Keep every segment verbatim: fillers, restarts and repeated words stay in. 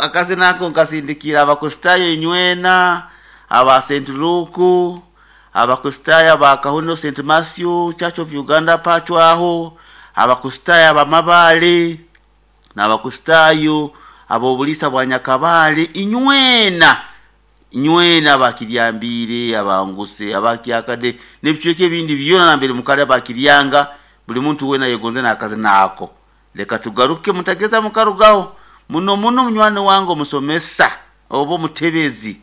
Akazina ako nkasindikira Abakristaayo inywena aba Saint Luke, Abakristaayo aba Kahuno Saint Matthew Church of Uganda pacwaho, Abakristaayo abamabale n'Abakristaayo ab'obuliisa bwa Nyakabale, inywena inywena abakiryambiire, abanguse, abakyakade n'ebicweka ebindi byona nambere mukali abakiryanga, buli muntu weena yegonze n'akazina ako. Leka tugaruke, mutageza mukarugaho muno muno. Munywani wange omusomesa oba omutebezi,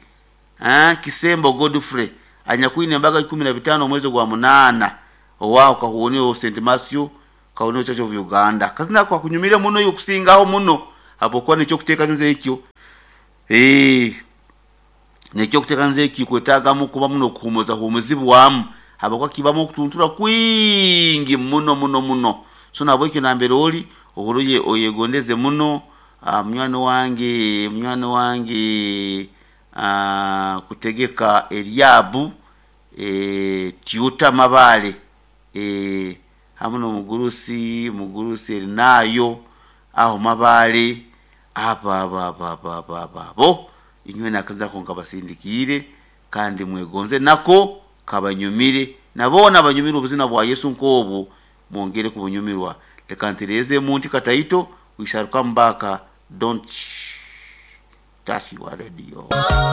ah, Kisembo Godfrey anyakwine embaga ikumi na bitaano omwezi gwa munaana owaaho Kahuoneo Saint Matthew, Kahuoneo Church of Uganda. Kazina ako kakunyumire muno yokusingaho muno habwokuba nekyokuteekaniza ekyo, eh, nekyokuteekaniza ekyo kwetaagamu kuba muno okuhumuza humuzibwamu habwokuba kibamu okutuntura kwingi muno muno muno. So nahabwekyo nambere ori ohuruye oyegondeze muno. uh, munywani wange munywani wange uh, kutegeka Eriabu e, Tyuta Mabale e, hamu n'omugurusi mugurusi Erinayo aho Mabale, abo abo abo abo abo abo abo inywena akazina ako nkabasindikiire kandi mwegonze nako kabanyumire, naboona abanyumirwe obuzina bwa Yesu nk'obwo mwongere kubunyumirwa. Leka ntereeze munti kataito, we shall come back. Don't touch your radio.